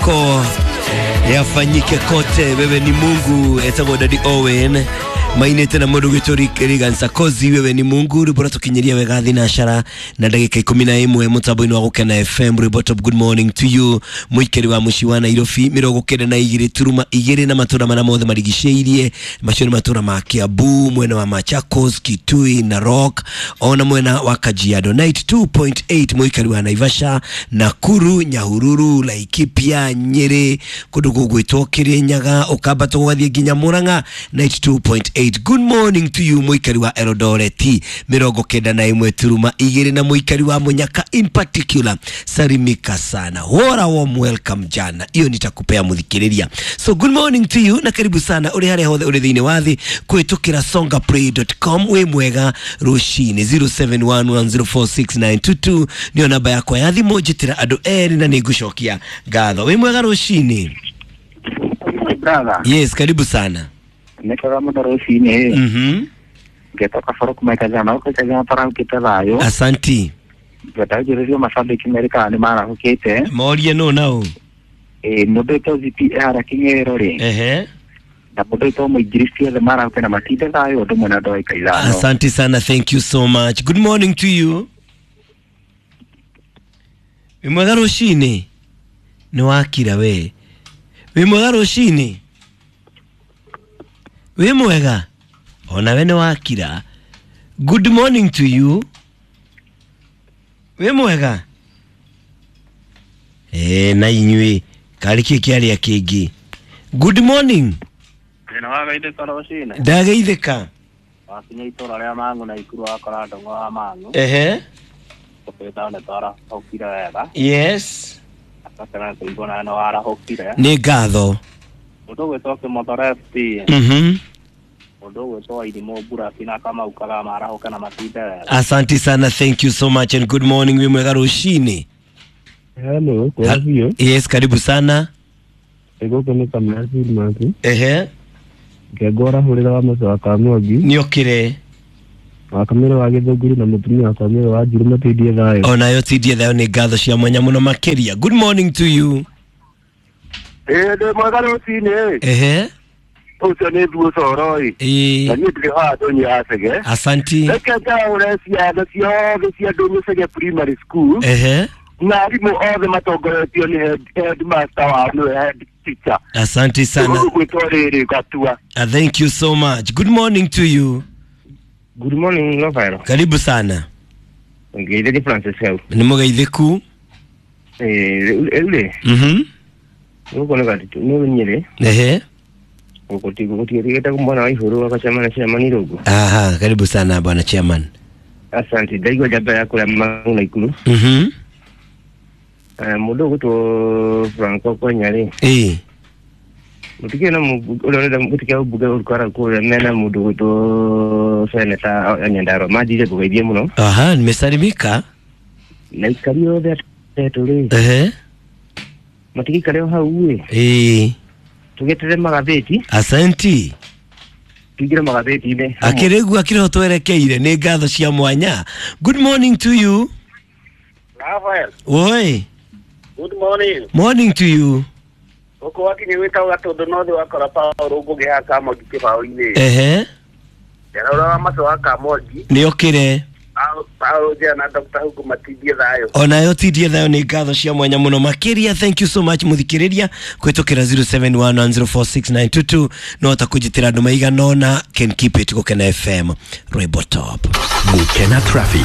Yako yafanyike kote, wewe ni Mungu. Etagwo Daddy Owen mainete na mundu gwitwo Regan Sarkozy, wewe ni Mungu. Rwimbo ratukinyiria wega thinacara na ndagika 11 mutambo-ini wa Gukena FM. Rwimbo top, good morning to you muikari wa muciĩ wa Nairobi 92.2 na matura maria mothe marigicĩirie. Macio nĩ matura ma Kiambu, mwena wa Machakos, Kitui, Narok ona mwena wa Kajiado. 92.8 muikari wa Naivasha, Nakuru, Nyahururu, Laikipia, Nyeri, kundu gũgwĩtwo Kirinyaga, ũkambata ũgathiĩ nginya Murang'a 92.8. Good morning to you muikari wa Eldoret 91.2 na muikari wa Munyaka in particular, salimika sana, wora warm welcome jana iyo nitakupea muthikiriria. So good morning to you na karibu sana uri haria hothe uri thiini wa thi kwitukira songaplay.com. Wi mwega rucini 0711046922 niyo namba yakwa ya thimu, njitira andu eri na ningucokia ngatho. Wi mwega rucini? Brother. Yes, karibu sana. Nĩkwega mũno rũcinĩ. Ngetoka boro kuma Ikathana gũkũ Ikathana tũrahũkĩte thayũ. Asanti. Ngenda njũrĩrio macambĩki merĩ kana nĩ marahũkĩte. Morie nũ nau? Ĩĩ, mũndũ wĩtwo ZP ehara Kĩng'ero rĩ, na mũndũ wĩtwo mũingiristi othe marahũke na matinde thayũ ũndũ ũmwe na andũ a Ikaithano. Asante sana, thank you so much. Good morning to you. Wĩ mwega rũcinĩ? Nĩ wakira we. Wĩ mwega rũcinĩ? Wĩ mwega? Ona we nĩ wakira. Good morning to you. Wĩ mwega? Na inyuĩ karĩ kĩ kĩarĩa kĩngĩ. Good morning. Thĩna wa geithĩka rũcinĩ. Ndageithĩka. Wakinya itũra rĩa Mang'u na Ikuru wakora ndũng'ũ wa Mang'u. Tũkwĩta nĩ twarahũkire wega. Yes. Akakena kũigua nawe nĩ warahũkire. Nĩ ngatho. Mũndũ ũgwĩtwo Kĩmotho FT, mũndũ ũgwĩtwo Wairimũ Mburaki na Kamau Kaga marahũke na matinde wega. Asante sana, thank you so much and good morning. Wĩ mwega rũcinĩ? Hello, kwa hiyo Yes, karibu sana. gũkũ nĩ Kamau Maki. Ngengora hũrĩra wa mũciĩ wa Kamwangi, Nĩokire. wa Kamĩrũ wa Gĩthũngũri na mũtumia wa Kamĩrũ wa Njirũ matindie thayũ. Onayo tindie thayo, nĩ ngatho cia mwanya mũno makĩria. Good morning to you. Ĩĩ, ndĩ mwega rũcinĩ. Ũcio nĩ Thuo Coro ĩ. Na niĩ ndĩrĩ haha ndũnyũ ya Cege. Asanti. Reke ngaũre ciana ciothe cia Ndũnyũ Cege Primary School na arimũ othe matongoretio nĩ headmaster wao nĩwe head teacher. Asante sana. Gwĩtwo rĩrĩ Gatua. Thank you so much. Good morning to you. Good morning, Rafael. Karibu sana. Ngeithĩrie Francis hau. Nĩ mũgeithĩku. Rĩu rĩ, gũkũ nĩ Gatitũ, nĩ Nyĩrĩ, gũkũ gũtigĩte mwana wa Ihũrũ agacemania chairman Irũngũ. Aha, karibu sana bwana chairman. Asante, ndaigua njamba ya kũrĩa Mang'u na Ikuru. Mũndũ ũgwĩtwo Franco Konya rĩ, mũtikĩrĩ na ũrĩa ũrenda gũtikĩa ũmbunge ũrukara kũrĩa mena mũndũ ũgwĩtwo seneta Nyandarua manjire ngũgeithie mũno. Aha, nimesalimika. Na ikari othe atetũ rĩ, matigĩikare o hau ĩ, tũgĩeterere magathĩti. Asanti. Tũingĩre magathĩti-inĩ. Akĩrĩgu akĩrĩho twerekeire, nĩ ngatho cia mwanya. Good morning to you. Rafael, Woi. good morning. Morning to you. Gũkũ wakinya gwĩtagwo Gatũndũ North wakora Paul Ngũgĩ haha Kamwangi kĩbaũ-inĩ. Njara wa maco wa Kamwangi. Nĩokire. Paul Njera na Dr. Hugo matindie thayũ. Onayo tindie thayo, nĩ ngatho cia mwanya mũno makĩria. Thank you so much mũthikĩrĩria kũhĩtũkĩra 0711046922 no ta kũnjĩtĩra andũ maigana ũna. Can keep it Gũkena FM, Rwimbo top. Gukena Traffic.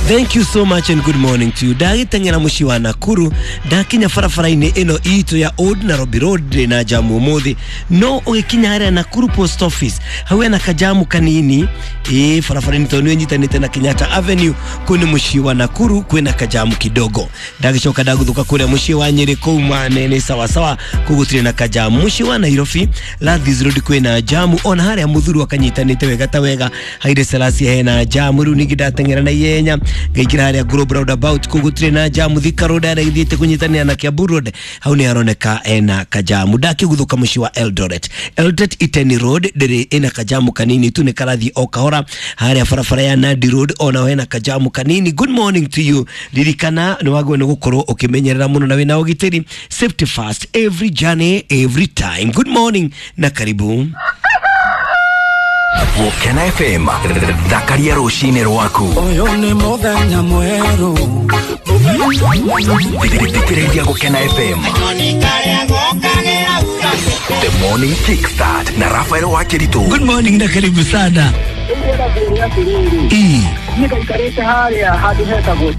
Thank you so much and good morning to you. Ndagĩteng'era mũciĩ wa Nakuru, ndakinya barabara-inĩ ĩno itũ ya Old Nairobi Road ndĩ na jamu ũmũthĩ, no ũgĩkinya harĩa Nakuru Post Office hau hena kajamu kanini ĩ barabara-inĩ tondũ nĩ ĩnyitanĩte na Kenyatta Avenue. Kũu nĩ mũciĩ wa Nakuru kwĩna kajamu kidogo. Ndagĩcoka ndagũthũka kũrĩa mũciĩ wa Nyĩrĩ kũu manene sawasawa, kũu gũtirĩ na kajamu. Mũciĩ wa Nairobi Landhies Road kwĩna jamu, ona harĩa mũthuru akanyitanĩte wega ta wega Haile Selassie hena jamu. Rĩu ningĩ ndateng'era na ihenya ngaingĩra harĩa Globe Roundabout kũu gũtirĩ na jamu. Thika Road harĩa ithiĩte kũnyitanĩra na Kiambu Road hau nĩ haroneka ena kajamu. Ndakĩguthũka mũciĩ wa Eldoret, Eldoret Iten Road ndĩrĩ ĩna kajamu kanini tu, nĩ karathiĩ o kahora. Harĩa barabara ya Nandi Road ona naho hena kajamu kanini. Good morning to you. Ririkana nĩ wagĩrĩirwo nĩ gũkorwo ũkĩmenyerera mũno na wĩna ũgitĩri. Safety first, every journey, every time. Good morning na karibu. Gũkena FM, thakaria rũcinĩ rwaku. Ũyũ nĩ mũthenya mwerũ. Thikĩrĩria Gũkena FM. The Morning Kickstart na Rafael Wakeritu. Good morning na karibu sana. Ndĩrenda kwĩrwo atĩrĩrĩ, Ii. niĩ ngaikarĩte harĩa handũ hetagwo